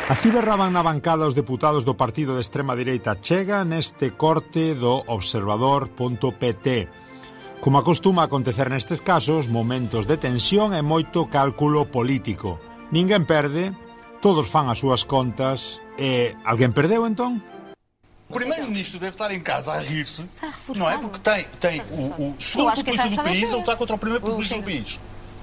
Así berraban na bancada os deputados do partido de extrema direita Chega neste corte do observador.pt. Como acostuma acontecer nestes casos, momentos de tensión e moito cálculo político. Ninguén perde, todos fan as súas contas e... alguén perdeu, entón? O primeiro-ministro deve estar em casa a rir-se, não é? Porque tem o segundo populista do país a lutar contra o primeiro populista do país.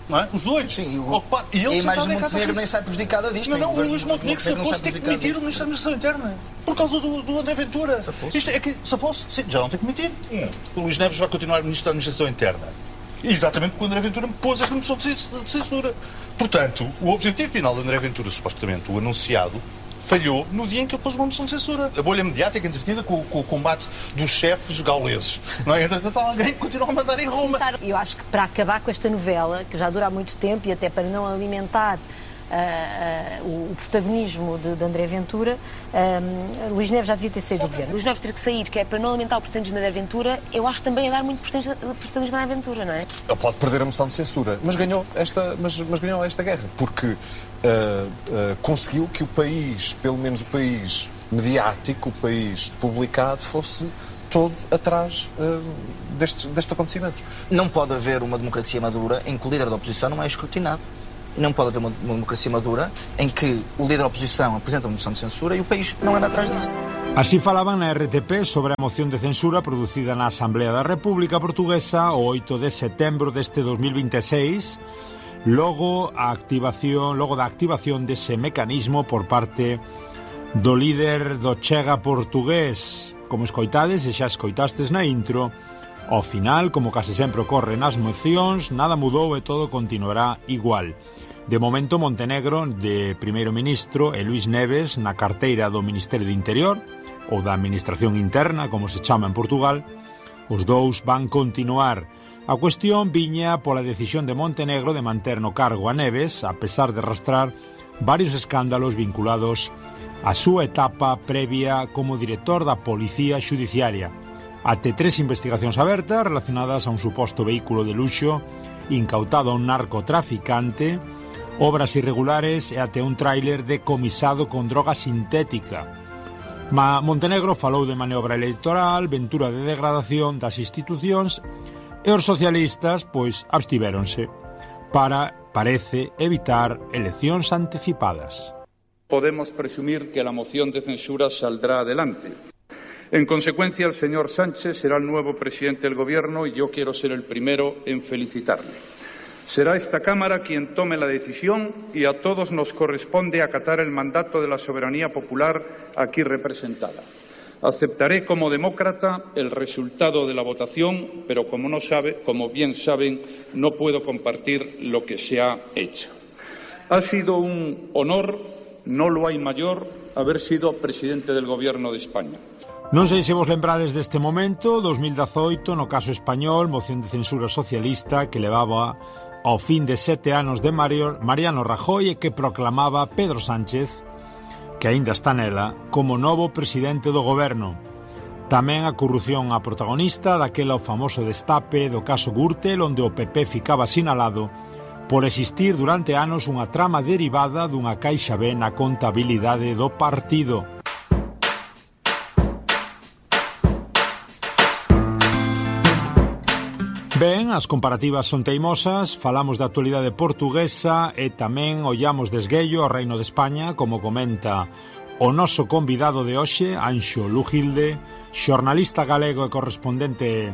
Não é? Os dois. Sim, e ele a imagem de Montenegro nem sai prejudicada disto. Não, o Luís Montenegro, se fosse, tem que demitir o Ministro da Administração Interna. Por causa do André Ventura. Isto é que, se fosse, sim, já não tem que demitir. O Luís Neves vai continuar Ministro da Administração Interna. Exatamente porque o André Ventura me pôs esta moção de censura. Portanto, o objetivo final do André Ventura, supostamente o anunciado, falhou no dia em que ele pôs uma moção de censura. A bolha mediática entretida com o combate dos chefes gauleses. Não é? Entretanto, alguém que continua a mandar em Roma. Eu acho que para acabar com esta novela, que já dura há muito tempo, e até para não alimentar o protagonismo de André Ventura, Luís Neves já devia ter saído do governo. Luís Neves ter que sair, que é para não alimentar o protagonismo de André Ventura, eu acho que também é dar muito protagonismo a André Ventura, não é? Ele pode perder a moção de censura, mas ganhou esta guerra, porque conseguiu que o país, pelo menos o país mediático, o país publicado, fosse todo atrás destes acontecimentos. Não pode haver uma democracia madura em que o líder da oposição não é escrutinado. Não pode haver uma democracia madura em que o líder da oposição apresenta uma moção de censura e o país não anda atrás disso. Así falaban na RTP sobre a moción de censura producida na Asamblea da República Portuguesa o 8 de setembro deste 2026, logo da activación dese mecanismo por parte do líder do Chega portugués. Como escoitades, e xa escoitastes na intro, ao final, como case sempre ocorre nas mocións, nada mudou e todo continuará igual. De momento, Montenegro, de primeiro ministro, e Luís Neves, na carteira do Ministerio do Interior, ou da Administración Interna, como se chama en Portugal, os dous van continuar. A cuestión viña pola decisión de Montenegro de manter no cargo a Neves, a pesar de arrastrar varios escándalos vinculados á súa etapa previa como director da Policía Xudiciaria. Até 3 investigacións abertas relacionadas a un suposto vehículo de luxo incautado a un narcotraficante, obras irregulares e até un tráiler decomisado con droga sintética. Montenegro falou de maniobra electoral, ventura de degradación das institucións e os socialistas, pois, abstivéronse para, parece, evitar eleccións anticipadas. Podemos presumir que la moción de censura saldrá adelante. En consecuencia, el señor Sánchez será el nuevo presidente del Gobierno y yo quiero ser el primero en felicitarle. Será esta Cámara quien tome la decisión y a todos nos corresponde acatar el mandato de la soberanía popular aquí representada. Aceptaré como demócrata el resultado de la votación, pero como bien saben, no puedo compartir lo que se ha hecho. Ha sido un honor, no lo hay mayor, haber sido presidente del Gobierno de España. Non sei se vos lembrades deste momento, 2018, no caso español, moción de censura socialista que levaba ao fin de 7 anos de Mariano Rajoy e que proclamaba Pedro Sánchez, que aínda está nela, como novo presidente do goberno. Tamén a corrupción a protagonista daquela o famoso destape do caso Gürtel, onde o PP ficaba sinalado por existir durante anos unha trama derivada dunha caixa B na contabilidade do partido. Ben, as comparativas son teimosas, falamos da actualidade portuguesa e tamén ollamos de esguello ao Reino de España, como comenta o noso convidado de hoxe, Anxo Lugilde, xornalista galego e correspondente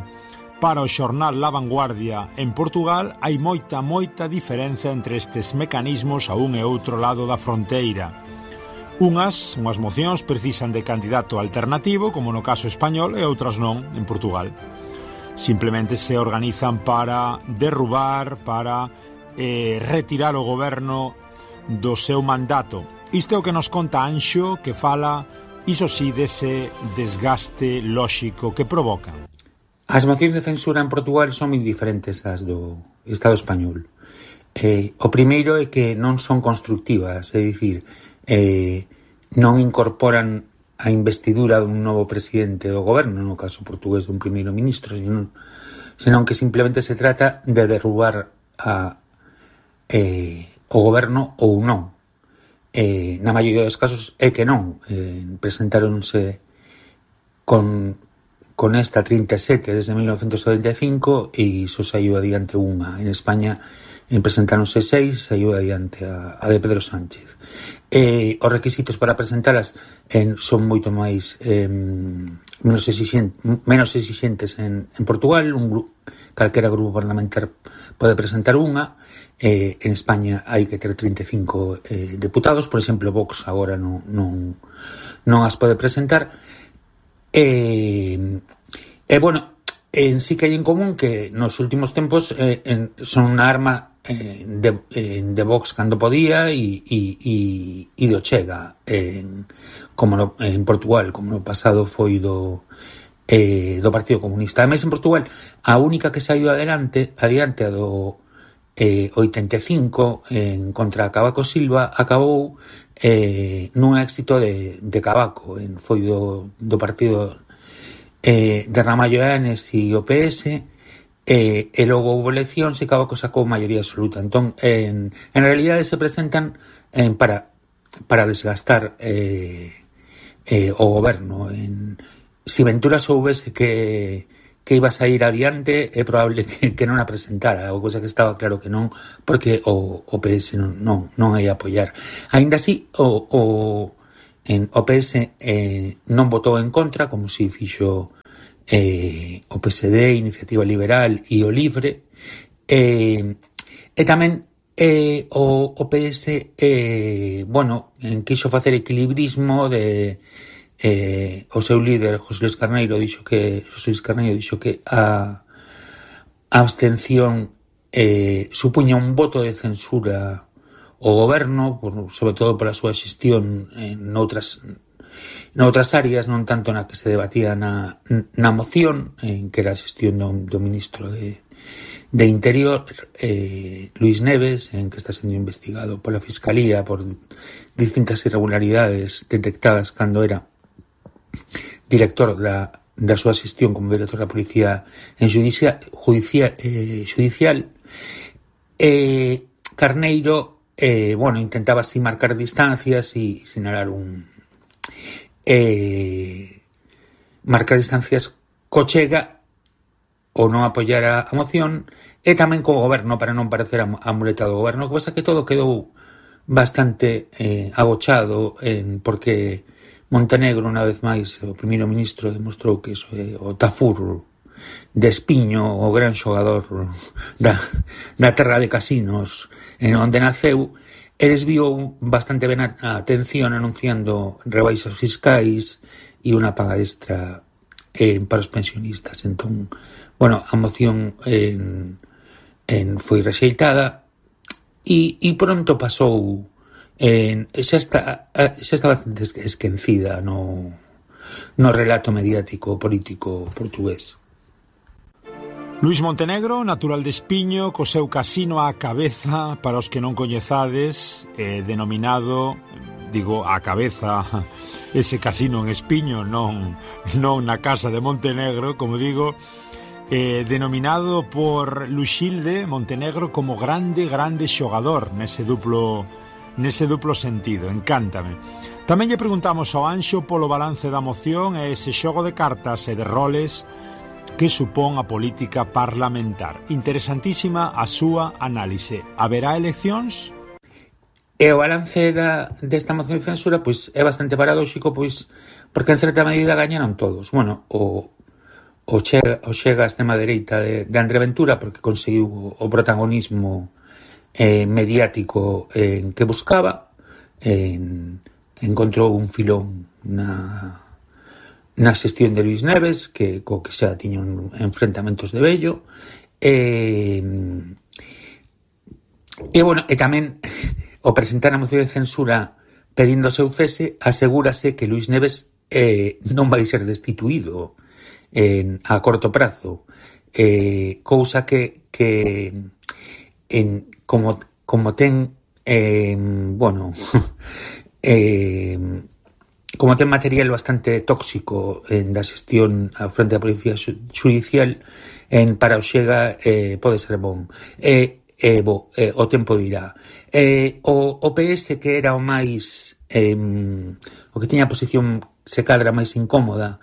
para o xornal La Vanguardia en Portugal. Hai moita diferenza entre estes mecanismos a un e outro lado da fronteira. Unhas mocións precisan de candidato alternativo, como no caso español, e outras non, en Portugal. Simplemente se organizan para derrubar, para retirar o goberno do seu mandato. Isto é o que nos conta Anxo, que fala, iso sí, dese desgaste lóxico que provocan. As mocións de censura en Portugal son moi diferentes ás do Estado español. O primeiro é que non son constructivas, é dicir, non incorporan a investidura dun novo presidente do goberno, no caso portugués dun primeiro ministro, senón que simplemente se trata de derrubar o goberno ou non. na maioría dos casos é que non. Presentáronse con esta 37 desde 1995 e iso saiu adiante unha. En España presentáronse 6, saiu adiante a de Pedro Sánchez. Os requisitos para presentalas son moito máis menos exixentes en Portugal. Calquera grupo parlamentar pode presentar unha. En España hai que ter 35 deputados. Por exemplo, Vox agora non as pode presentar. Bueno, sí que hai en común que nos últimos tempos son unha arma de Vox cando podía e do Chega como en Portugal, como no pasado foi do Partido Comunista. Ademais, en Portugal, a única que saiu adiante a do 85 contra Cavaco Silva acabou nun éxito de Cavaco. Foi do partido de Ramallo Eanes e o PS, e logo houve eleccións e Cavaco sacou maioría absoluta. Entón, en realidade se presentan para desgastar o goberno. Si Ventura soubese que iba a sair adiante, é probable que non a presentara, ou cosa que estaba claro que non, porque o PS non ia apoiar. Ainda así, o PS non votou en contra, como si fixo o PSD, Iniciativa Liberal e o Livre, e tamén o PS quixo facer equilibrismo de o seu líder José Luis Carneiro dixo que a abstención supuña un voto de censura ao goberno, sobre todo pola súa xestión noutras áreas, non tanto na que se debatía na moción, que era a xestión do ministro de Interior, Luis Neves, en que está sendo investigado pola Fiscalía por distintas irregularidades detectadas cando era director da súa xestión como director da Policía Judicial. Carneiro intentaba así marcar distancias e sinalar marcar distancias co Chega ou non apoiar a moción, e tamén co goberno para non parecer a muleta do goberno, cosa que todo quedou bastante agochado porque Montenegro, unha vez máis, o primeiro ministro demostrou que iso é o Tafur de Espiño, o gran xogador da terra de casinos onde naceu, e desviou bastante ben a atención anunciando rebaixas fiscais e unha paga extra para os pensionistas. Entón, a moción foi rexeitada e pronto pasou. Xa está bastante esquecida no relato mediático político portugués. Luís Montenegro, natural de Espiño, co seu casino á cabeza, para os que non coñezades, denominado, digo, á cabeza, ese casino en Espiño, non na casa de Montenegro, como digo, denominado por Luxilde Montenegro como grande xogador nese duplo sentido. Encántame. Tamén lle preguntamos ao Anxo polo balance da moción e ese xogo de cartas e de roles que supón a política parlamentar. Interesantísima a súa análise. Haberá eleccións? E o balance desta moción de censura é bastante paradóxico, porque en certa medida gañaron todos. O Chega a extrema dereita de André Ventura, porque conseguiu o protagonismo mediático que buscaba, encontrou un filón na xestión de Luis Neves, co que xa tiña enfrentamentos de vello, e tamén o presentar a moción de censura pedindo o seu cese, asegúrase que Luis Neves non vai ser destituído a corto prazo, cousa que como ten como ten material bastante tóxico da xestión ao frente da Policía Judicial, para o Chega pode ser bon. o tempo dirá. O PS, que era o máis o que tiña a posición se cadra máis incómoda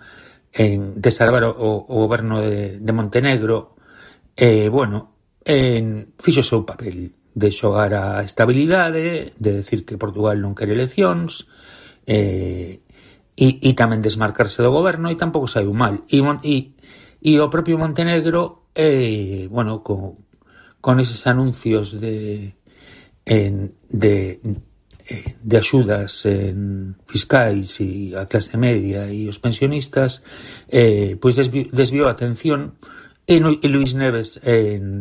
en desarbar o goberno de Montenegro, fixo o seu papel de xogar a estabilidade, de decir que Portugal non quere eleccións, e tamén desmarcarse do goberno, e tampouco saiu mal. E o propio Montenegro, con eses anuncios de axudas fiscais e a clase media e os pensionistas, pois desviou a atención. E Luís Neves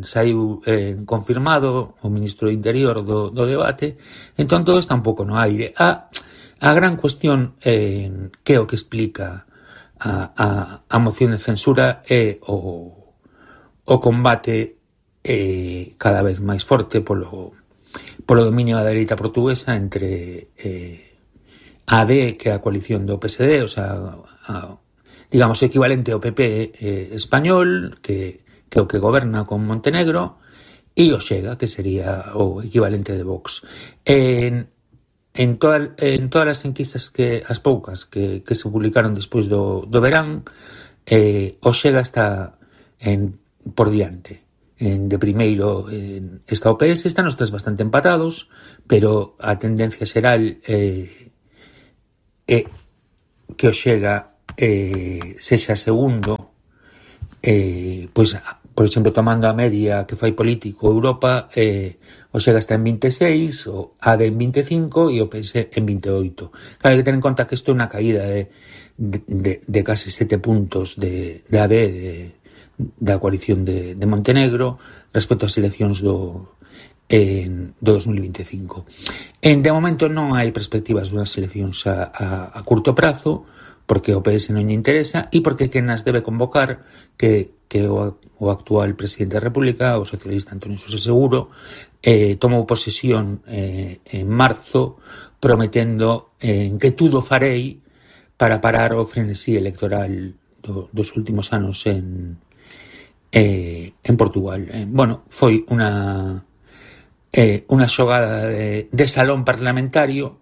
saiu confirmado o ministro do Interior do debate. Entón todo está un pouco no aire. A gran cuestión que é o que explica a moción de censura é o combate cada vez máis forte polo dominio da dereita portuguesa entre AD, que é a coalición do PSD, o sea, digamos, equivalente ao PP español, que é o que goberna con Montenegro, e o Chega, que sería o equivalente de Vox. En todas as enquisas, as poucas que se publicaron despois do verán, o Chega está por diante. De primeiro está o PS, están os tres bastante empatados, pero a tendencia xeral é que o Chega sexa segundo, pois, por exemplo, tomando a media que fai Político Europa, o Chega está en 26, o AD en 25 e o PS en 28. Claro, hai que ter en conta que isto é unha caída de casi 7 puntos de AD, da coalición de Montenegro, respecto ás eleccións do 2025. De momento non hai perspectivas dunhas eleccións a curto prazo, porque o PS non lle interesa e porque quen as debe convocar, que o actual presidente da República, o socialista Antonio José Seguro, tomou posesión en marzo, prometendo que tudo farei para parar o frenesí electoral dos últimos anos en Portugal. Foi unha xogada de salón parlamentario,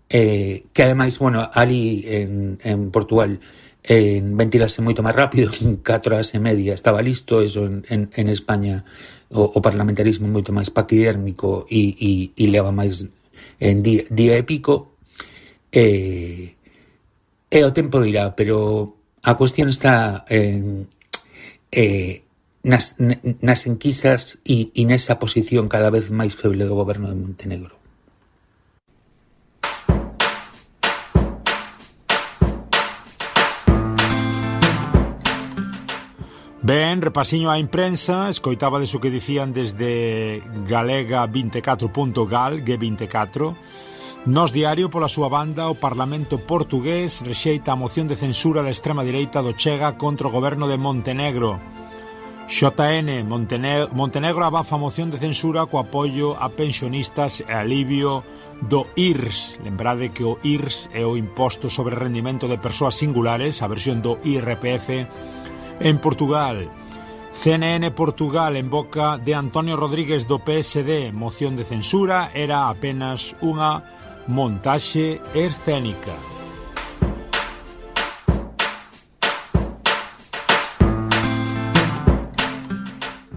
que ademais, ali en Portugal ventilase moito máis rápido, en 4 horas e media estaba listo. Eso en España o parlamentarismo é moito máis paquidérmico e leva máis en día e pico, e o tempo dirá, pero a cuestión está nas enquisas e nesa posición cada vez máis feble do goberno de Montenegro. Ben, repasiño á imprensa. Escoitabades o que dicían desde galega24.gal, G24. Nos Diario, pola súa banda, o Parlamento portugués rexeita a moción de censura da extrema direita do Chega contra o goberno de Montenegro. JN, Montenegro abafa a moción de censura co apoio a pensionistas e alivio do IRS. Lembrade que o IRS é o imposto sobre rendimento de persoas singulares, a versión do IRPF en Portugal. CNN Portugal, en boca de Antonio Rodríguez do PSD, moción de censura era apenas unha montaxe escénica.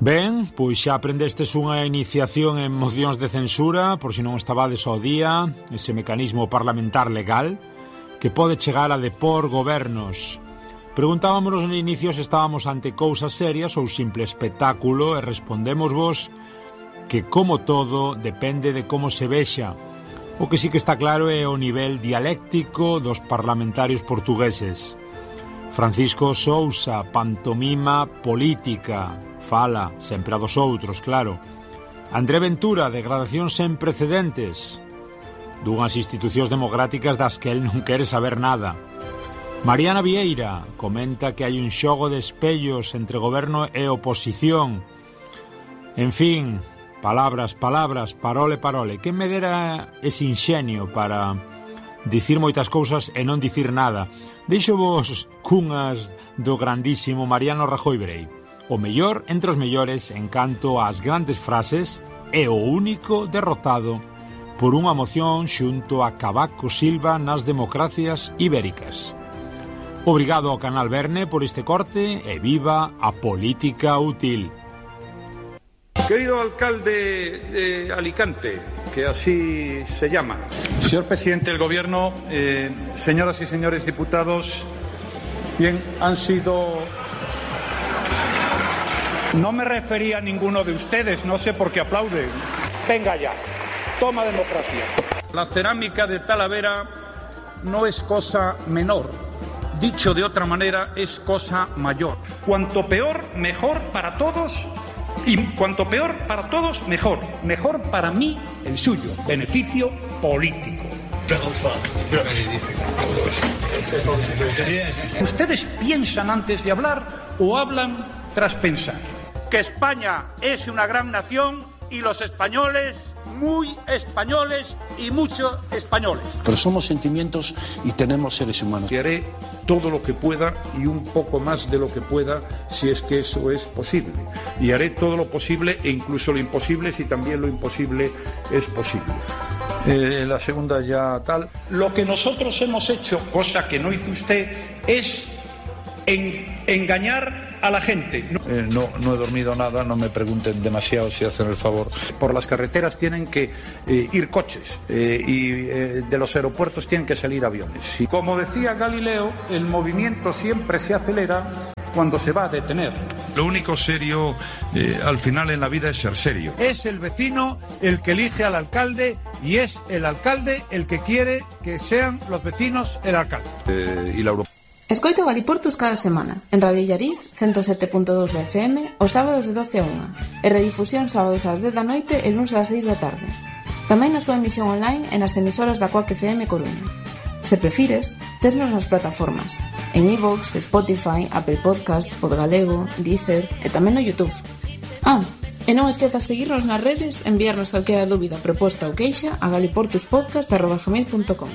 Ben, pois xa aprendestes unha iniciación en mocións de censura, por se non estabades ao día, ese mecanismo parlamentar legal que pode chegar a depor gobernos. Preguntábamos no inicio se estábamos ante cousas serias ou simple espectáculo e respondémosvos que, como todo, depende de como se vexa. O que sí que está claro é o nivel dialéctico dos parlamentarios portugueses. Francisco Sousa, pantomima política, fala sempre a dos outros, claro. André Ventura, degradación sen precedentes dunhas institucións democráticas das que el non quere saber nada. Mariana Vieira comenta que hai un xogo de espellos entre goberno e oposición. En fin, palabras, parole. Quen me dera ese inxenio para dicir moitas cousas e non dicir nada. Deixo vos cunhas do grandísimo Mariano Rajoy Brei. o mellor entre os mellores en canto ás grandes frases e o único derrotado por unha moción xunto a Cavaco Silva nas democracias ibéricas. Obrigado ao canal Verne por este corte e viva a política útil. Querido alcalde de Alicante, que así se llama, señor presidente del Gobierno, señoras y señores diputados, bien, han sido... No me refería a ninguno de ustedes, no sé por qué aplauden. Venga ya, toma democracia. La cerámica de Talavera no es cosa menor. Dicho de otra manera, es cosa mayor. Cuanto peor, mejor para todos. Y cuanto peor para todos, mejor. Mejor para mí, el suyo. Beneficio político. ¿Ustedes piensan antes de hablar o hablan tras pensar? Que España es una gran nación y los españoles, muy españoles y mucho españoles. Pero somos sentimientos y tenemos seres humanos. Y haré todo lo que pueda y un poco más de lo que pueda si es que eso es posible. Y haré todo lo posible e incluso lo imposible si también lo imposible es posible. La segunda ya tal. Lo que nosotros hemos hecho, cosa que no hizo usted, es engañar a la gente. No he dormido nada, no me pregunten demasiado si hacen el favor. Por las carreteras tienen que ir coches y de los aeropuertos tienen que salir aviones. Y como decía Galileo, el movimiento siempre se acelera cuando se va a detener. Lo único serio al final en la vida es ser serio. Es el vecino el que elige al alcalde y es el alcalde el que quiere que sean los vecinos el alcalde. Y la Escoito Galiportus cada semana, en Radio Illariz, 107.2 de FM, os sábados de 12 a 1, e redifusión sábados ás 10 da noite e luns ás 6 da tarde. Tamén na súa emisión online e nas emisoras da Coac FM Coruña. Se prefires, tesnos nas plataformas, en iVoox, Spotify, Apple Podcast, Podgalego, Deezer e tamén no YouTube. E non esquezas seguirnos nas redes, enviarnos calquera dúbida, proposta ou queixa a galiportuspodcast@gmail.com.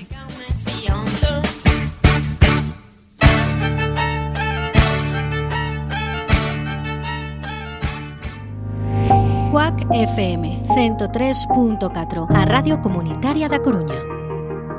Coac FM 103.4, a Radio Comunitaria da Coruña.